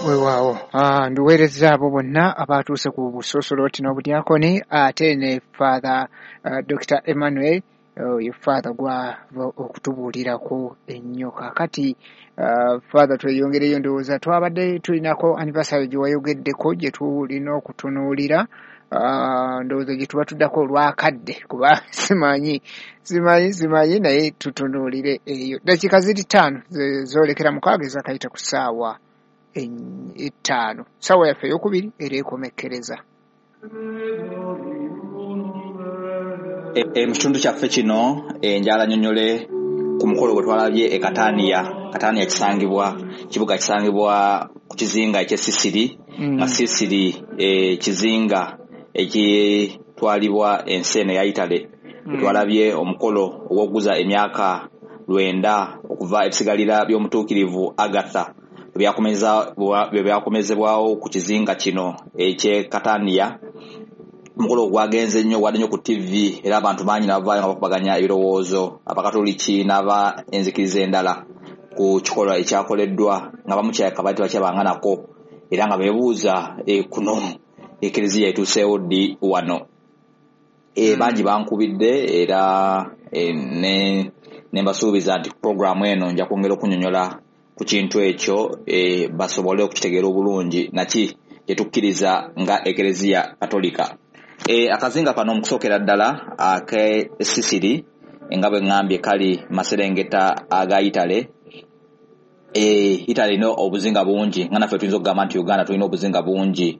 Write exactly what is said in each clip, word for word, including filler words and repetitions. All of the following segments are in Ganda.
Weewaawo, ah, nduweereza abo bonna abatuuse ku busosoloti n'obudyakoni, ate ne Father uh, Doctor Emmanuel, oyo uh, Father gwava okutubuulirako ennyo. Kaakati uh, Father, tweyongereyo, ndowooza twabadde tulinako anniversary gye wayogeddeko gye tulina okutunuulira, uh, ndowooza gye tuba tuddako olwakadde, kuba simanyi simanyi simanyi naye tutunuulire eyo. Dakiika ziri ttaano zoolekera mukaaga ezakayita ku ssaawa ettaano, ssaawa yaffe eyokubiri era ekomekkereza. E, mu kitundu kyaffe kino enjala nnyonnyole ku mukolo gwe twalabye e Katania. Katania kisangibwa kibuga kisangibwa ku kizinga eky'e Sisiri, nga Sisiri e, kizinga ekitwalibwa ensi eno eya Italy. Twalabye omukolo ogw'okuguza emyaka lwenda okuva ebisigalira by'omutuukirivu Agatha bwe byakomezebwawo ku kizinga kino eky'e Katania. Omukolo gwagenze nnyo, gwadde nnyo ku T V, era abantu bangi nabavaayo nga bakubaganya ebirowoozo, Abakatoliki n'aba enzikiriza endala ku kikolwa ekyakoleddwa, nga bamukyaka baali tebakyabanga nako, era nga beebuuza e, kuno Ekereziya etuuseewo ddi wano. E, bangi bankubidde era e, ne, ne mbasuubiza nti puroguramu eno nja kwongera okunnyonnyola ku kintu ekyo, e, basobole okukitegeera obulungi naki gye tukkiriza nga Ekereziya Katolika. E, akazinga kano mu kusookera ddala ak'e Sisiri, nga bwe ŋŋambye kali maserengeta aga Italy. E, Italy erina obuzinga bungi, nga naffe tuyinza okugamba nti Uganda tulina obuzinga bungi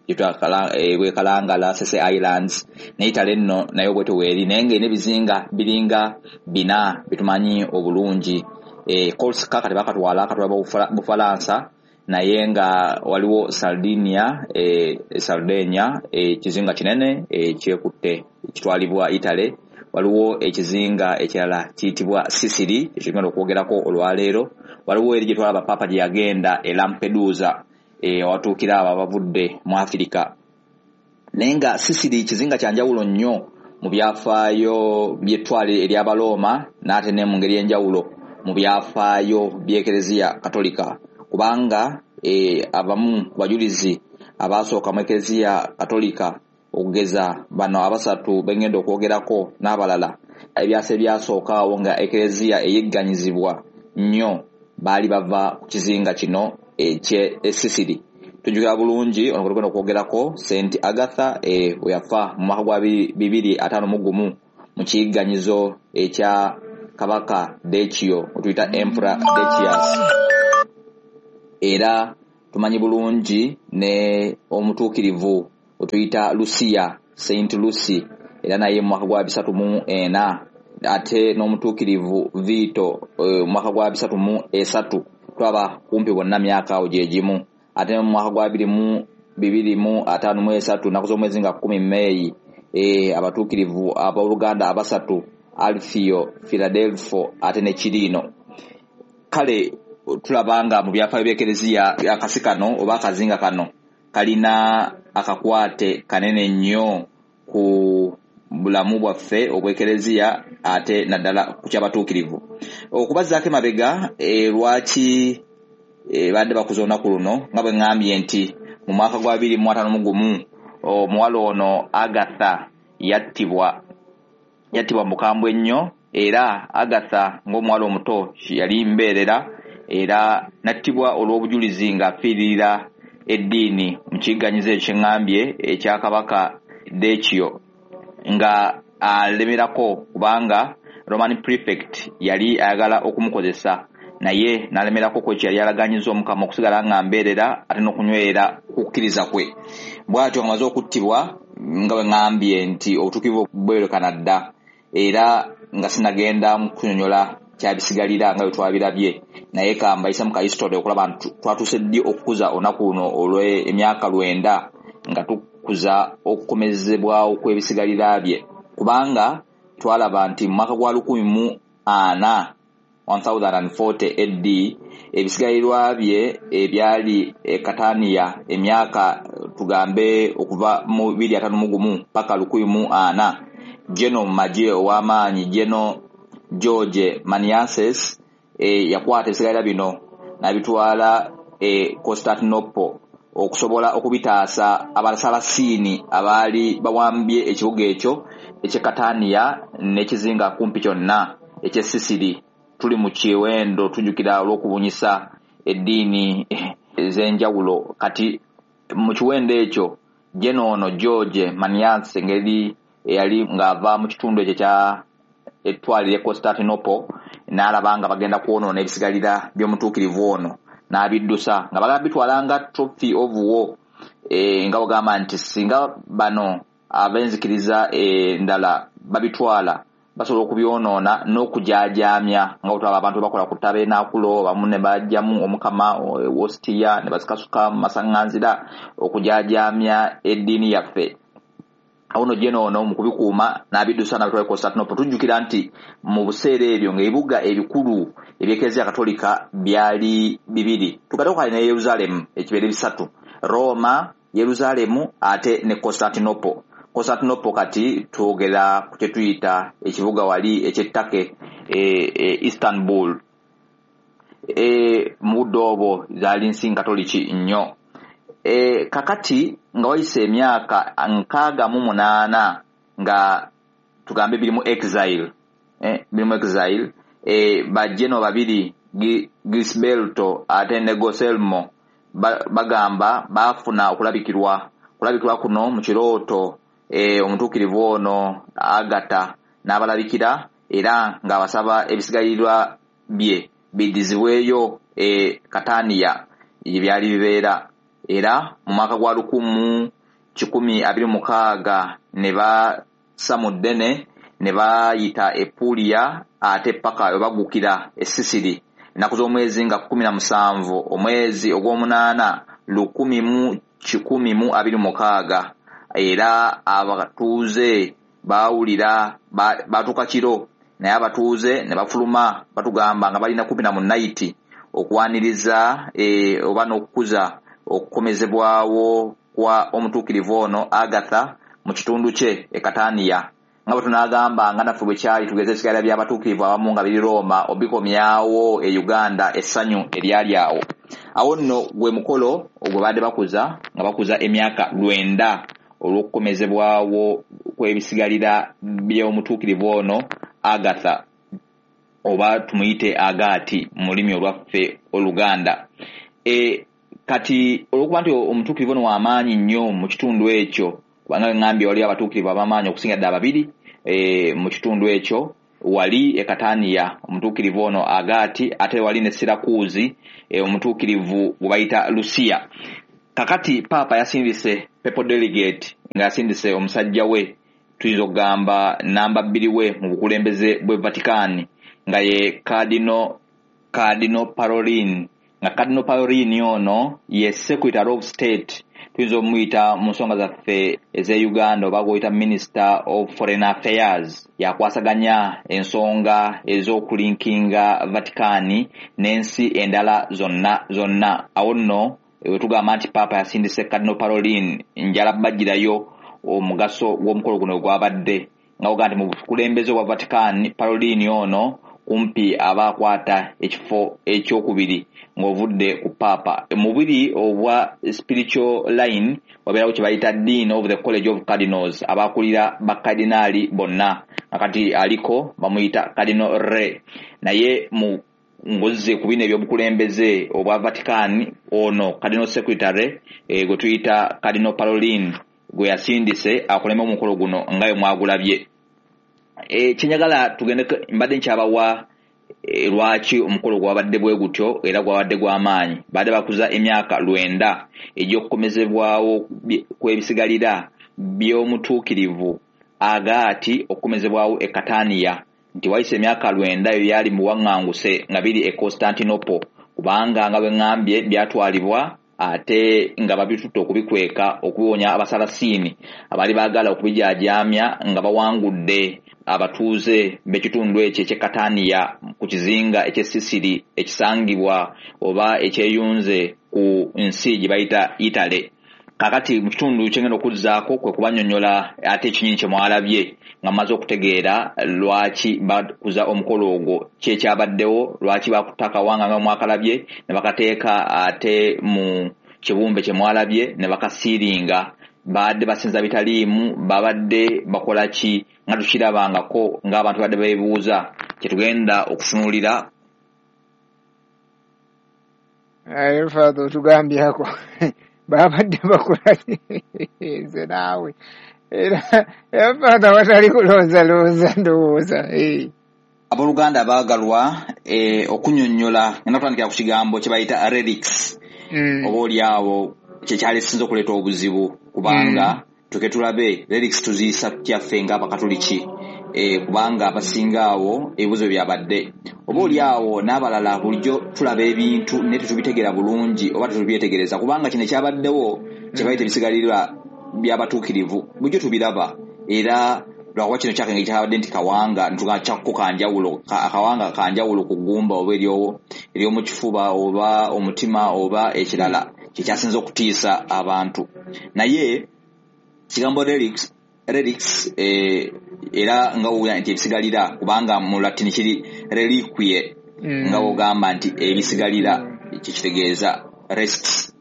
bwekalangala, Sese Islands, ne Italy nno nayo bwetyo weeri, naye ng'erina ebizinga biringa bina byetumanyi obulungi. E, Corsica kati bakatwala katwala Bufalansa, naye nga waliwo Sardinia, e, Sardinia ekizinga e, kinene ekyekutte e, kitwalibwa Italy. Waliwo ekizinga ekirala kiyitibwa Sicily ekigenda okwogerako olwaleero. Waliwo eri gye twalaba Papa gye yagenda e Lampedusa, e, watuukira abo abavudde mu Afirika. Naye nga Sicily kizinga kya njawulo nnyo mu byafaayo by'ettwale ery'Abalooma, n'ate ne mu ngeri y'enjawulo mu byafaayo by'Ekereziya Katolika, kubanga e, abamu ku bajulizi abaasooka mu Ekereziya Katolika, okugeza bano abasatu bengenda okwogerako n'abalala, ebyasa ebyasooka awo nga Ekereziya eyigganyizibwa nnyo, baali bava ku kizinga kino eky'e Sisiri. Tujjukira bulungi ono gwe tugenda okwogerako, Saint Agatha, e, we yafa mu mwaka gwa bibiri ataano mu gumu mu kiyigganyizo ekya Kabaka Decio, otuyita Emperor Decius. Era tumanyi bulungi ne omutuukirivu otuyita Lucia, Saint Lucy, era naye mu mwaka gwa bisatu mu ena, ate n'omutuukirivu Vito mu mwaka gwa bisatu mu esatu, twaba kumpi bonna myaka awo gye gimu. Ate mu mwaka gwa bibiri mu bibiri mu ataano mu esatu, nnaku z'omwezi nga kkumi Meeyi, e, abatuukirivu abooluganda abasatu, Alfio, Philadelphia ate ne Kirino. Kale tulaba nga mu byafaayo by'Ekereziya akasi kano oba akazinga kano kalina akakwate kanene nnyo ku bulamu bwaffe obw'Ekereziya, ate naddala ku ky'abatuukirivu. Okubazzaako emabega, e, lwaki e, badde bakuza olunaku luno, nga bwe ŋŋambye nti mu mwaka gwa bibiri mu ataano mu gumu omuwala ono Agatha yattibwa yattibwa mu bukambwe ennyo. Era Agatha ng'omuwala omuto yali mbeerera, era nattibwa olw'obujulizi ng'afiiririra eddiini mu kiyigganyizo ekyo kye ŋŋambye ekya Kabaka Decio, nga alemerako kubanga Roman prefect yali ayagala okumukozesa, naye n'alemerako ku ekyo yali alaganyiza Omukama okusigala nga mbeerera ate n'okunywera kukkiriza kwe. Bw'atyo ng'amaze okuttibwa, nga bwe ŋŋambye nti obutuukirivu bwerekana dda, era nga sinagenda mu kunnyonnyola kyabisigalira nga bwe twabirabye, naye kambayisa mu ka history okulaba nti twatuuse ddi okukuza olunaku luno olw'emyaka lwenda nga tukuza okukomezebwawo kw'ebisigalira bye, kubanga twalaba nti mu mwaka gwa lukumi mu ana one thousand forty A D ebisigalirwa bye ebyali e Katania emyaka tugambe okuva mu bibiri ataano mu gumu paka lukumi mu ana, Geno Magye ow'amaanyi Geno George Maniaces e, yakwata ebisigalira bino n'abitwala e Constantinople okusobola okubitaasa Abasalasiini abaali bawambye ekibuga ekyo eky'e Katania n'ekizinga kumpi kyonna eky'e Sisiri. Tuli mu kiwendo tujjukira olw'okubunyisa eddiini ez'enjawulo. Kati mu kiwendo ekyo Geno ono George Maniates, engeri eyali ng'ava mu kitundu ekyo ekya ettwaliro e Constantinople, n'alaba nga bagenda kwonoona ebisigalira by'omutuukirivu ono, n'abiddusa nga bagala bitwala nga trophy of war, e, nga bagamba nti singa bano ab'enzikiriza endala babitwala basobola okubyonoona n'okujaajaamya, nga bwe abantu bakola ku tabernakulo bamu ne bajjamu omukama wositiya ne bazikasuka mu masaŋŋanzira okujaajaamya eddiini yaffe. Awo nno Geno ono mu kubikuuma n'abiddusa n'abitwala e Constantinople. Tujjukira nti mu biseera ebyo ng'ebibuga ebikulu eby'Ekereziya Katolika byali bibiri, tugatteko kale ne Yerusaalemu, ekibeere bisatu: Roma, Yerusaalemu ate ne Constantinople. Constantinople kati twogera ku kye tuyita ekibuga wali eky'e Turkey, e, e, Istanbul. e, mu budde obwo zaali nsi nkatoliki nnyo. e, kakati nga wayise emyaka nkaaga mu munaana nga tugambe biri mu exile, eh, biri mu exile, e, bajeno babiri Gisberto ate ne Goselmo bagamba baafuna okulabikirwa. Okulabikirwa kuno mu kirooto, e, omutuukirivu ono Agata n'abalabikira era ng'abasaba ebisigalirwa bye biddizibweyo e Kataniya gye byali bibeera. Era mu mwaka gwa lukumu kikumi abiri mukaaga ne bassa mu ddene ne bayita e Puliya ate paka we baggukira e Sisiri ennaku z'omwezi nga kkumi na musanvu omwezi ogw'omunaana lukumi mu kikumi mu abiri mukaaga. Era abatuuze baawulira, batuuka kiro, naye abatuuze ne bafuluma, batugamba nga balina kumpi na mu nayiti okwaniriza e, oba n'okukuza okukomezebwawo kwa omutuukirivu ono Agatha mu kitundu kye e Kataniya. Nga bwe tunaagamba nga naffe bwe kyali tugeze ebisigalira by'abatuukirivu abamu nga biri Roma obikomyawo e Uganda, essanyu eryali awo. Awo nno gwe mukolo gwe baadde bakuza, nga bakuza emyaka lwenda olw'okukomezebwawo kw'ebisigalira by'omutuukirivu ono Agatha, oba tumuyite Agaati mu lulimi olwaffe Oluganda. e, kati olw'okuba nti omutuukirivu ono w'amaanyi nnyo mu kitundu ekyo, kubanga ŋŋambye waliyo abatuukirivu ab'amaanyi okusinga ddala babiri e, mu kitundu ekyo wali e Kataniya, omutuukirivu ono Agaati, ate wali ne Sirakuuzi, e, omutuukirivu gwe bayita Lusiya. Kakati Paapa yasindise papal delegate, nga yasindise omusajja we, tuyinza okugamba namba bbiri we mu bukulembeze bw'e Vatican, nga ye Cardinal Cardinal Parolin. Nga Cardinal Parolin ono ye Secretary of State, tuyinza omuyita mu nsonga zaffe ez'e Uganda oba gwoyita Minister of Foreign Affairs, yakwasaganya ensonga ez'okulinkinga Vatican n'ensi endala zonna zonna. Awo nno wetugamba nti Paapa yasindise Cardinal Parolin, njala bajjirayo omugaso gw'omukolo guno gwabadde nga ogamba nti mu bukulembeze obwa Vatican, Parolin ono kumpi aba akwata ekifo ekyokubiri ng'ovudde ku Paapa. Mu biri obwa spiritual line wabeerawo kye bayita Dean of the College of Cardinals, abakulira bakadinaali bonna, nga kati aliko bamuyita Cardinal Re. Naye mu ngozze ku bino ebyobukulembeze obwa Vatican, ono Cardinal Secretary e, gwe tuyita Cardinal Parolin gwe yasindise akulembe omukolo guno nga bwe mwagulabye. e, kyenjagala tugende, mbadde nkyabawa e, lwaki omukolo gwabadde bwe gutyo era gwabadde gw'amaanyi. Badde bakuza emyaka lwenda egy'okukomezebwawo kw'ebisigalira by'omutuukirivu Agaati okukomezebwawo e Kataniya, nti wayise emyaka lwenda ebyo byali mu buwaŋŋanguse nga biri e Constantinople, kubanga nga bwe ŋŋambye byatwalibwa ate nga babitutte okubikweka okubiwonya Abasalasiini abaali baagala okubijaajaamya nga bawangudde abatuuze b'ekitundu ekyo eky'e Kataniya ku kizinga eky'e Sisiri ekisangibwa oba ekyeyunze ku nsi gye bayita Italy. Kakati mu kitundu kyengenda okuzzaako kwe kubannyonnyola ate ekinyinyi kye mwalabye nga mmaze okutegeera lwaki bakuza omukolo ogwo, ki ekyabaddewo, lwaki bakutte akawanga nga mwakalabye ne bakateeka ate mu kibumbe kye mwalabye ne bakasiiringa. Babadde basinza bitaliimu, babadde bakola ki nga tukirabangako ng'abantu badde beebuuza. Kyetugenda okutunuulira. Aye Father, otugambyako babadde bakola ki? Nze naawe era era Father watali kulowooza ndowooza. Eh. Abooluganda abaagalwa, eh, okunnyonnyola ngenda kutandikira ku kigambo kye bayita relics. Mm. Oba oli awo kye kyali kisinze okuleeta obuzibu, kubanga Mm. tuke tulabe relics tuziyisa tutya ffe ng'Abakatoliki, eh, kubanga abasinga awo ebibuuzo byabadde oba oli awo n'abalala bulijjo tulaba ebintu naye tetubitegeera bulungi oba tetubyetegereza, kubanga kino ekyabaddewo kye bayita ebisigalira by'abatuukirivu bulijjo tubiraba, era lwakuba kino kyakenge kyabadde nti kawanga ntugamba kyakko kanjawulo, ka-, akawanga kanjawulo ku ggumba oba eryo-, ery'omu kifuba oba omutima oba ekirala kyekyasinze okutiisa abantu. Naye kigambo relics, relics, eh, era nga wowulira nti ebisigalira, kubanga mu Latin kiri reliquie, Mm. nga wogamba nti ebisigalira kyekitegeeza rests,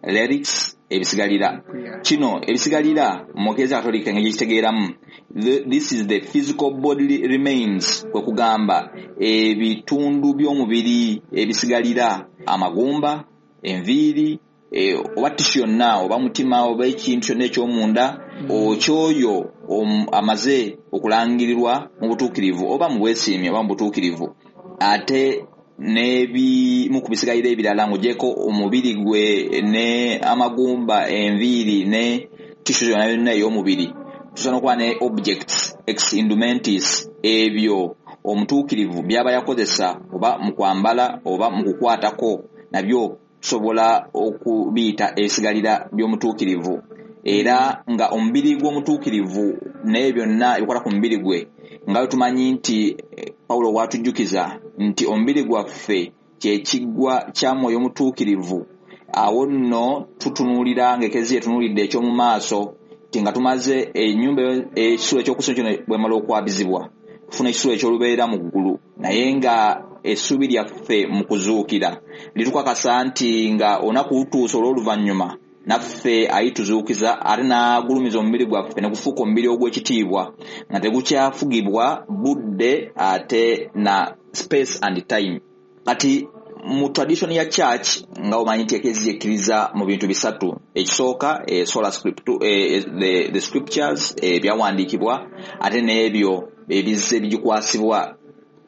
relics ebisigalira. Yeah. Kino ebisigalira mu Eklezia Katolika engeri gyekitegeeramu, the, this is the physical bodily remains, kwe kugamba ebitundu by'omubiri ebisigalira, amagumba, enviiri, eh, oba tissue yonna oba mutima oba ekintu kyonna eky'omunda, Mm. okyoyo om-, amaze okulangirirwa mu butuukirivu oba mu bwesiimi oba mu butuukirivu. Ate n'ebimu ku bisigalira ebirala ng'ogyeko omubiri gwe ne amagumba, enviiri ne tissue yonna yonna ey'omubiri, tusobola n'okuba ne objects ex indumentis, ebyo omutuukirivu by'aba yakozesa oba mu kwambala oba mu kukwatako, nabyo tusobola okubiyita ebisigalira by'omutuukirivu. Era nga omubiri gw'omutuukirivu n'ebyo byonna ebikwata ku mubiri gwe, nga bwe tumanyi nti, eh, Pawulo bw'atujjukiza nti omubiri gwaffe kye kiggwa kya Mwoyo Mutuukirivu, awo nno tutunuulira ng'Eklezia etunuulidde eky'omu maaso, nti nga tumaze ennyumba ekisulo eky'okusula kino bwemala okwabizibwa, tufuna ekisulo eky'olubeerera mu ggulu. Naye nga essuubi lyaffe mu kuzuukira litukakasa nti nga olunaku lutuuse olw'oluvannyuma, naffe alituzuukiza ate n'agulumiza omubiri gwaffe ne gufuuka omubiri ogw'ekitiibwa nga tegukyafugibwa budde ate na space and time. Kati mu tradition ya church nga omanyi nti Eklezia ekkiriza mu bintu bisatu. Ekisooka, eh, sola scriptu, eh, the, the scriptures, eh, ebyawandiikibwa, ate n'ebyo ebizze bigikwasibwa,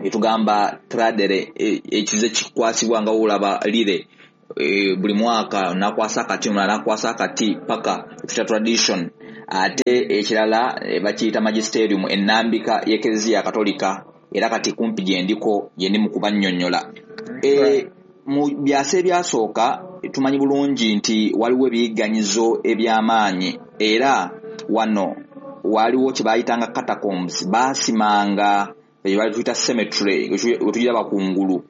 etugamba tradere, eh, ekize kikwasibwa nga wolaba lire, eh, buli mwaka nakwasa akati, omulala nakwasa akati paka ekya tradition. Ate ekirala, eh, bakiyita magisterium, ennambika y'Eklezia Katolika, era kati kumpi gye ndiko gye ndi mu kubannyonnyola. Eh, mu byasa ebyasooka tumanyi bulungi nti waliwo ebiyigganyizo eby'amaanyi, era wano waliwo kye baayitanga catacombs, baasimanga eyo bali tuyita cemetery, we tugiraba kungulu.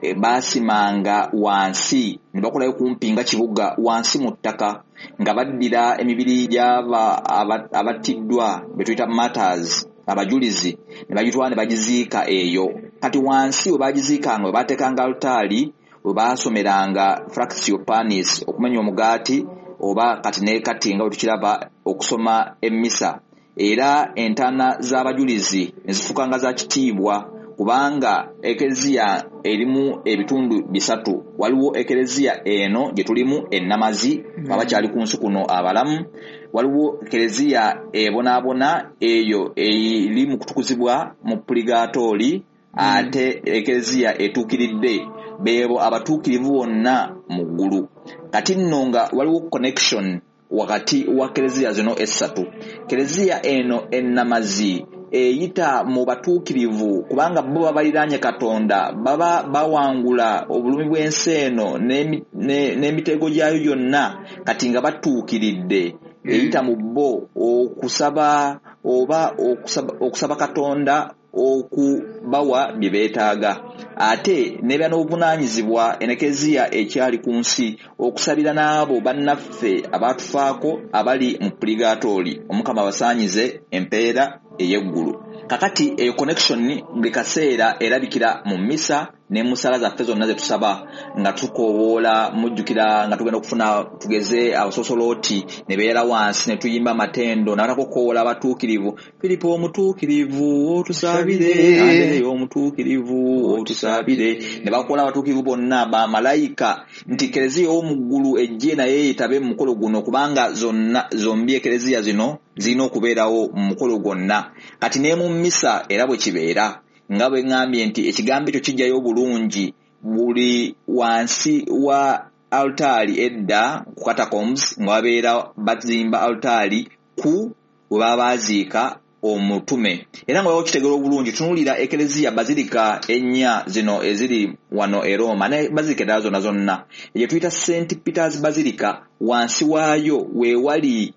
E, baasimanga wansi ne bakolayo kumpi nga kibuga wansi mu ttaka, nga baddira emibiri gy'aba aba-, abattiddwa be tuyita martyrs, abajulizi, ne bagitwala ne bagiziika eyo. Kati wansi we bagiziikanga, we baateekanga alutaali, we baasomeranga fractio panis, okumenya omugaati, oba kati ne kati nga bwe tukiraba okusoma emmisa. Era entaana z'abajulizi ne zifuuka nga za kitiibwa, kubanga Eklezia erimu ebitundu bisatu. Waliwo Eklezia eno gye tulimu ennamazi, Mm. abakyali ku nsi kuno abalamu. Waliwo Eklezia ebonaabona, eyo eri mu kutukuzibwa mu puligaatooli, Mm. ate Eklezia etuukiridde beebo abatuukirivu bonna mu ggulu. Kati nno nga waliwo connection wakati wa Eklezia zino essatu. Eklezia eno ennamazi eyita mu batuukirivu, kubanga bo babaliraanye Katonda, baba bawangula obulumi bw'ensi eno n'emi-, ne-, n'emitego gyayo gyonna, kati nga batuukiridde. Mm. Eyita mu bo okusaba oba okusaba, okusaba Katonda okubawa bye beetaaga, ate n'eba n'obuvunaanyizibwa Eklezia ekyali ku nsi okusabira n'abo bannaffe abaatufaako abali mu puligaatooli. Omukama abasaanyize empeera ey'eggulu. Kakati eyo connection buli kaseera erabikira mu mmisa Ne mu ssaala zaffe zonna ze tusaba nga tukoowoola, mujjukira nga tugenda okufuna tugeze abasosolooti ne beera wansi ne tuyimba amatendo nabatako okukowoola abatuukirivu, Firipo omutuukirivu otusabire, Andereya omutuukirivu otusabire, ne bakola abatuukirivu bonna bamalayika nti Kereziya ow'omu ggulu ejje naye yeetabe mu mukolo guno, kubanga zonna zombi ekereziya zino zirina okubeerawo mu mukolo gwonna. Kati ne mu mmisa era bwe kibeera, nga bwe ŋŋambye nti ekigambo ekyo kijjayo obulungi buli wansi wa altaali edda ku catacombs nga babeera bazimba altaali ku we baba baaziika omutume. Era nga okitegeera obulungi, tunuulira ekereziya bazilika ennya zino eziri wano e Roma ne bazilika endala zonna zonna, egye tuyita Saint Peters Basilica, wansi waayo we wali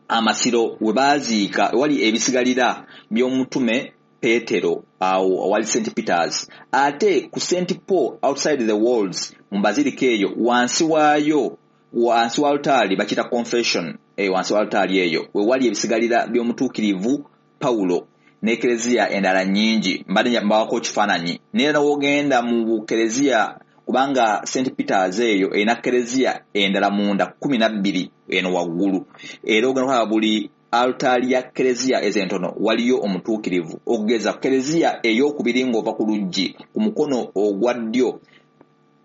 amasiro we baaziika, wali ebisigalira by'omutume Petero awo awali Saint Peters. Ate ku Saint Paul outside the walls mu bazilika eyo wansi waayo, wansi wa altaali bakiyita confession, eh, wansi wa altaali eyo we wali ebisigalira by'omutuukirivu Pawulo n'ekereziya endala nnyingi. Mbadde mbawako ekifaananyi naye n'ogenda mu bukereziya, kubanga Saint Peters eyo erina kereziya endala munda kkumi na bbiri eno waggulu, era ogenda okulaba buli altaali ya kereziya ezo entono waliyo omutuukirivu. Okugeza kereziya ey'okubiri ng'ova ku luggi ku mukono ogwa ddyo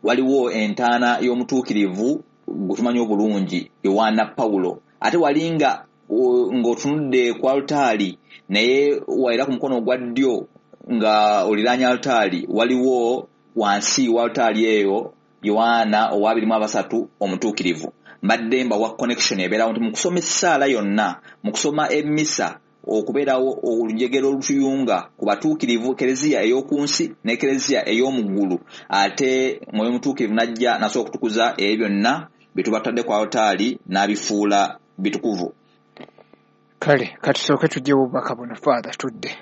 waliwo entaana y'omutuukirivu gwe tumanyi obulungi Yowaana Pawulo. Ate wali nga ng'otunudde ku altaali naye era ku mukono ogwa ddyo nga oliraanye altaali waliwo wansi wa altaali eyo Yowaana ow'abiri mu abasatu omutuukirivu. Mbadde mbawa connection ebeerawo nti mu kusoma essaala yonna, mu kusoma emmisa, okubeerawo olujegere olutuyunga ku batuukirivu, kereziya ey'oku nsi ne kereziya ey'omu ggulu. Ate Mwoyo Mutuukirivu n'ajja n'asobola okutukuza ebyo byonna bye tuba tutadde ku altaali n'abifuula bitukuvu. Kale katusooke tuggyewo obubaka buno, Father, tudde.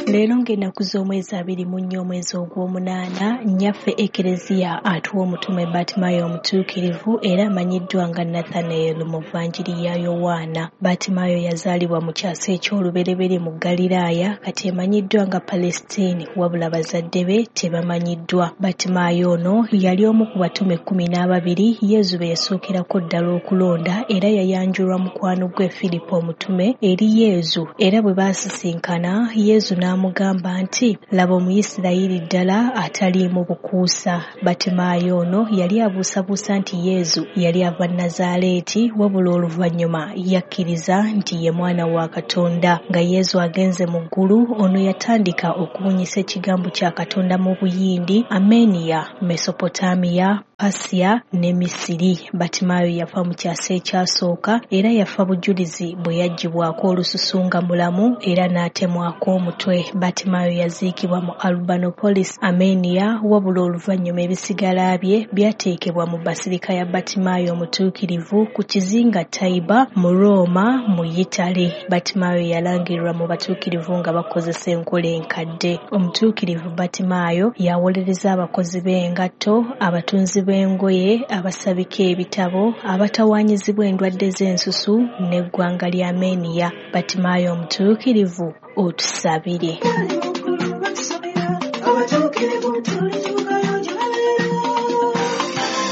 Leero ng'ennaku z'omwezi abiri mu nnya omwezi ogw'omunaana, nnyaffe Ekereziya atuwa omutume Batimayo omutuukirivu era amanyiddwa nga Nathanael mu Vanjiri ya Yowaana. Batimayo yazaalibwa mu kyasa eky'olubereberye mu Ggaliraaya, kati emanyiddwa nga Palestine, wabula bazadde be tebamanyiddwa. Batimayo ono yali omu ku batume kkumi n'ababiri Yezu be yasookerako ddala okulonda, era yayanjulwa mukwano gwe Firipo omutume eri Yezu, era bwe baasisinkana Yezu n'amugamba nti, laba Omuyisirayiri ddala ataliimu bukuusa. Batimayo ono yali abuusabuusa nti Yezu yali ava Nazaaleeti, wabula oluvannyuma yakkiriza nti ye mwana wa Katonda. Nga Yezu agenze mu ggulu, ono yatandika okubunyisa ekigambo kya Katonda mu Buyindi, Armenia, Mesopotamiya, Pasiya ne Misiri. Batimayo yafa mu kyasa ekyasooka era yafa bujulizi bwe yaggyibwako olususu nga mulamu era n'atemwako omutwe. Batimayo yaziikibwa mu Albanopolis, Armenia, wabula oluvannyuma ebisigala bye byateekebwa mu basirika ya Batimayo omutuukirivu ku kizinga Taiba mu Roma mu Yitale. Batimayo yalangirirwa mu batuukirivu nga bakozesa enkola enkadde. Omutuukirivu Batimayo yawolereza abakozi b'engatto, abatunzi b'engoye, abasabika ebitabo, abatawaanyizibwa endwadde z'ensusu n'eggwanga lya Armenia. Batimayo omutuukirivu otusabire.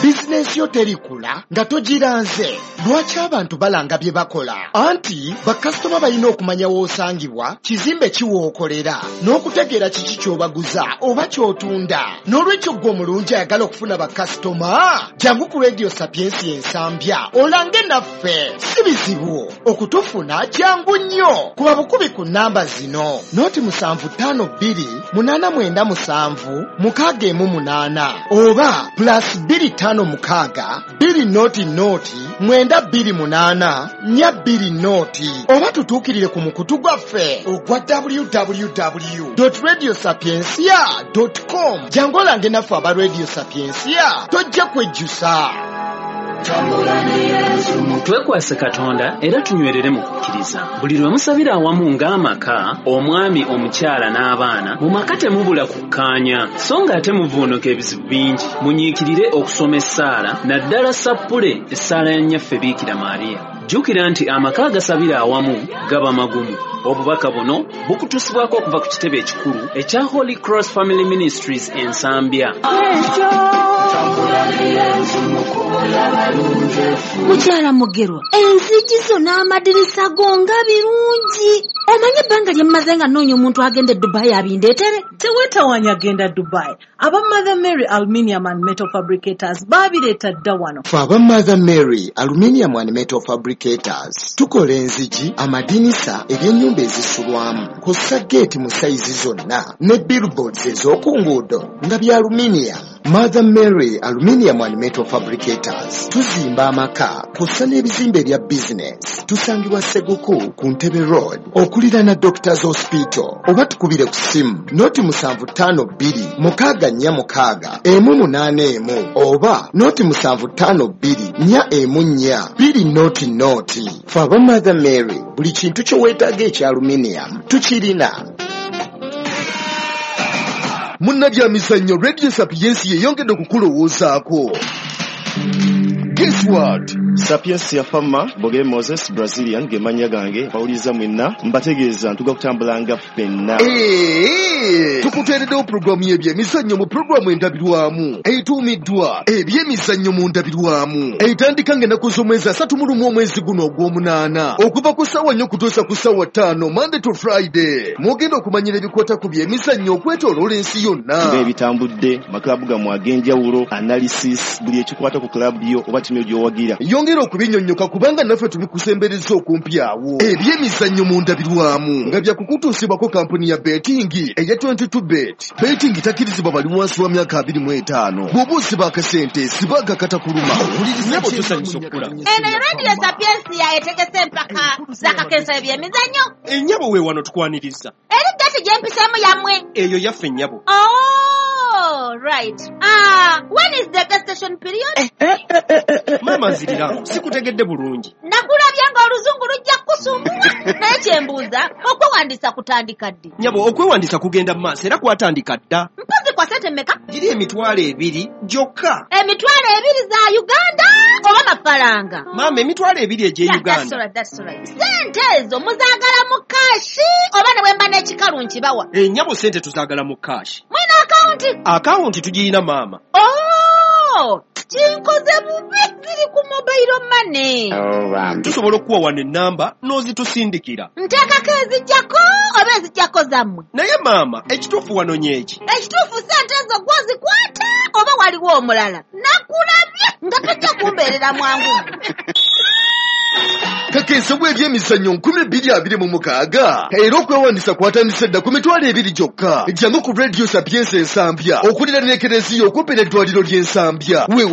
Bizinensi yo terikula nga togiranze. Lwaki abantu balanga bye bakola? Anti bakasitoma balina okumanya w'osangibwa, kizimbe ki w'okolera, n'okutegeera kiki ky'obaguza oba ky'otunda. N'olwekyo ggwe omulungi ayagala okufuna bakasitoma, jangu ku Radio Sapiensia Ensambya olange naffe. Si bizibu okutufuna, jangu nnyo. Kuba bukubi ku nnamba zino: noti musanvu ttaano bbiri munaana mwenda musanvu mukaaga emu munaana oba plus bbiri ttaano mukaaga bbiri noti noti mwenda bbiri munaana nnya bbiri noti, oba tutuukirire ku mukutu gwaffe ogwa w w w dot radio sapiensia dot com. Jangu olange naffe aba Radio Sapiensia, tojja kwejjusa. Twekwase Katonda era tunywerere mu kukkiriza. Buli lwe musabira awamu ng'amaka, omwami, omukyala n'abaana, mu maka temubula kukkaanya, so ng'ate muvuunuka ebizibu bingi. Munyiikirire okusoma essaala, naddala sappule essaala ya Nnyaffe Biikira Maria. Jjukira nti amaka agasabira awamu gaba magumu. Obubaka buno bukutuusibwako okuva ku kitebe ekikulu ekya Holy Cross Family Ministries e Nsambya. Mukyala Mugerwa, enzigi zo n'amadirisa go nga birungi. Omanyi ebbanga lye mmaze nga nnoonya omuntu agenda e Dubai abindeetere? Teweetawaanya genda Dubai. Aba Mother Mary Aluminium and Metal Fabricators baabireeta dda wano. Ffe aba Mother Mary Aluminium and Metal Fabricators tukola enzigi, amadinisa, ebyennyumba ezisulwamu, kw'ossa geeti mu sayizi zonna ne billboards ez'oku nguudo nga bya aluminium. Mother Mary Aluminium and Metal Fabricators tuzimba amaka kw'ossa n'ebizimbe ebya bizinesi. Tusangibwa Seguku ku Ntebe Road okuliraana Doctors Hospital, oba tukubire ku ssimu noti musanvu ttaano bbiri mukaaga nnya mukaaga emu munaana emu oba noti musanvu ttaano bbiri nnya emu nnya bbiri noti noti. Ffe aba Mother Mary buli kintu kye weetaaga ekya aluminium tukirina. Munnabyamizannyo, Radio Sapiensi yeyongedde okukulowoozaako. Guess what? Sapiensia Fama Bogere Moses Brazilian ge mannya gange, bawuliriza mwenna mbategeeza ntuga kutambulanga ffenna. Ee, tukuteereddewo pulogulaamu y'ebyemizannyo mu pulogulaamu endabirwamu etuumiddwa Ebyemizannyo mu Ndabirwamu, etandika ng'ennaku z'omwezi asatu mu lumu omwezi guno ogw'omunaana okuva ku ssaawa nnya okutuusa ku ssaawa ttaano, Monday to Friday. Mwogenda okumanyira ebikwata ku byemizannyo okwetooloola ensi yonna, ng'ebitambudde maklabu gammwe ag'enjawulo, analysis, buli ekikwata ku klabu yo oba ttiimu yo gy'owagira. Yongera okubinyonnyoka kubanga naffe tubikusembereza okumpi awo. Ebyemizannyo mu Ndabirwamu nga byakukutuusibwako kampuni ya betting eya twenty-two bet. Betting takkirizibwa bali wansi wa myaka abiri mu etaano. Bw'oba osiba akasente sibaga katakuluma. Nnyabo, tusanyusa okukulaba. Eno Radio Sapiensia etegese empaka z'akakensa ebyemizannyo. Ennyabo, we wano tukwaniriza. Eri gati gye mpiseemu yammwe? Eyo yaffe, nnyabo. Oh, right. Ah, when is the gestation period? Maama, nziriramu, sikutegedde bulungi. Nakulabye ng'oluzungu lujja kukusumbuwa. Naye kyembuuza, okwewandiisa kutandika ddi? Nnyabo, okwewandiisa kugenda mu maaso era kwatandika dda. Mpozi kwa sente mmeka? Giri emitwalo ebiri gyokka. Emitwalo ebiri za Uganda oba mafaranga? Maama, emitwalo ebiri egy'e Yeah, that's Uganda. all right, that's all right. Sente ezo muzaagala mu cash oba ne bwe mba n'ekikalu nkibawa? Ennyabo, sente tuzaagala mu cash. Mwina akawunti? Akawunti tugiyina, maama. Oh, kinkoze bubi, ziri ku mobile money. Tusobola okuwa wano ennamba n'ozitusindikira. Nteekako ezijjako oba ezijjako zammwe? Naye maama, ekituufu wanonye eki? Ekituufu sente ezo gwozikwata oba waliwo omulala? Nakulabye nga tojja kumbeerera mwangu. Kakensa w'ebyemizannyo nkumi bbiri abiri mu mukaaga, era okwewandiisa kwatandise dda ku mitwalo ebiri gyokka. Jangu ku Radio Sapiensi Ensambya okuliraana ekereziya okumpi n'eddwaliro ly'Ensambya. Weewa.